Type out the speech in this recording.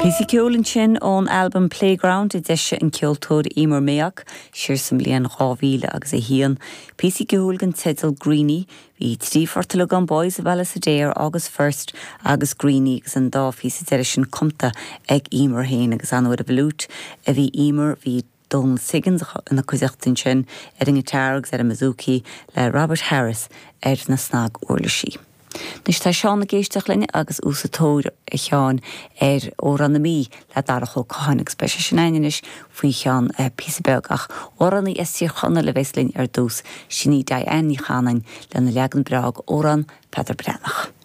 Píosa ceoil ansin ón albam Playground a d'eisigh an ceoltóir Emer Mayock siar sa mbliain 2000 agus 1. Píosa ceoil den teideal Greeny. Bhí trí phort uilig ann Boys of Ballysadare, August First agus Greeny agus an dá phíosa deiridh sin cumta ag Emer féin agus ar ndóigh ar an bhfliúit a bhí Emer, bhí Donal Siggins ina cuideachta ansin ar an ngiotár agus ar an mbouzouki le Robert Harris ar na snag-uirlisí. Anois tá Seán ag éisteacht linn agus í sa tóir, a Sheáin, ar Amhrán na Mí le Darach Ó Catháin agus beidh sé sin againn anois faoi cheann píosa beag ach amhránaí as Tír Chonaill a bheas linn ar dtús, sin í Diane Ní Chanainn lena leagan breá d'Amhrán Pheadar Breathnach.